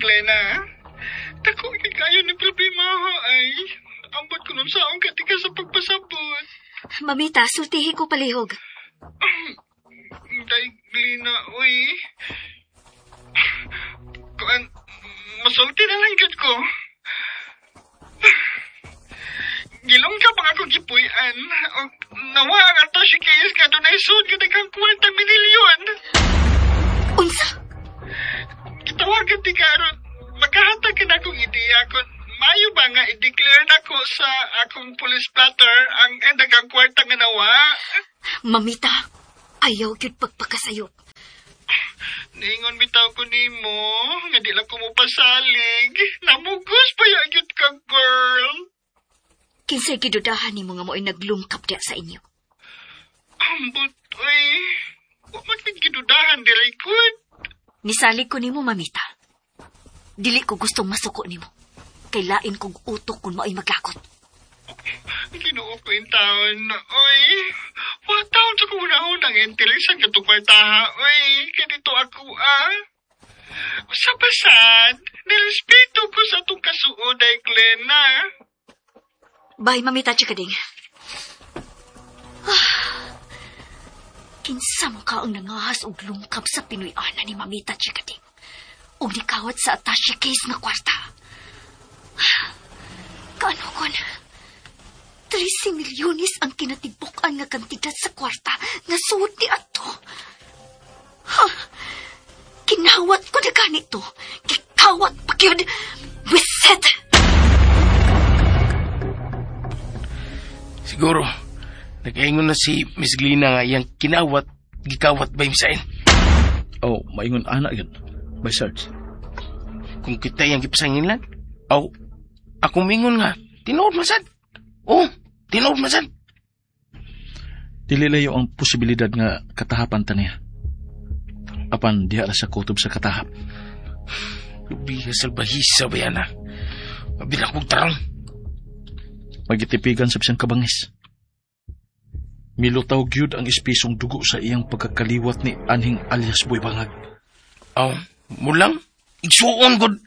Glena. Dako kaayo ni problema ho ay. Ambot ko nun saong katika sa pagpasabot. Mamita, sultihi ko palihog. Day, Glena, uy. Kuan, masulti na lang gyud ko. Gilong ka pa akong gipuy-an. O, nawa ang attache case nga dunay sud nga daghang kwarta milyon. Unsa? Gitawagan ti karon. Makahatag ka na akong ideya kung mayo ba nga i-declare na ko sa akong police blotter ang daghang kwarta nga nawa. Mamita, ayaw gyud pagpakasayop. Niingon bitaw ko nimo nga di lang ko mo pasalig. Namugos pa ya gyud ka, girl. Kinsay gidudahan nimo nga mo'y naglungkap diya sa inyo? Ambot, uy. Wa man gidudahan diri gud. Nisalig ko nimo, Mamita. Dili ko gustong masuko nimo. Kay lain kog utok kung mao'y maglakot. Ginoo ko yung taon, oy. Wa taon sa kunahon ang interes ang katong kwartaha, oy. Kaya dito ako, ah. Sa pasad, nirespeto ko sa atong kasuod ay Glenna. Bye, Mamita Chikading. Ah, kinsa mo ka ang nangahas og lungkap sa Pinoy-ana ni Mamita Chikading? Og nikawat sa attache case nga kwarta. Ah, kaano kon? 13 milyones ang kinatibuk-an nga kantidad sa kwarta nga suod ni ato. Ha? Kinawat ko na ganito. Gikawat pa gyud. Wiset! Siguro, nag-ingon na si Miss Glina nga iyang kinawat, gikawat ba yung sain? Oh, maingon ana yun. By search. Kung kita iyang gipasanginlan, aw, ako mingon nga, tinuod masad. Oh, tinuod masad. Dili layo ang posibilidad nga katahapan ta niya. Apan diha ra sa kutob sa katahap. Lubiha salbahisa ba yan, ha? Mabila kong tarong. Magitipigan sa bisang kabangis. Milutaw gyud ang espisong dugo sa iyang pagkakaliwat ni anhing alias Boy Bangag. Aw, mulang? Igsuon, god!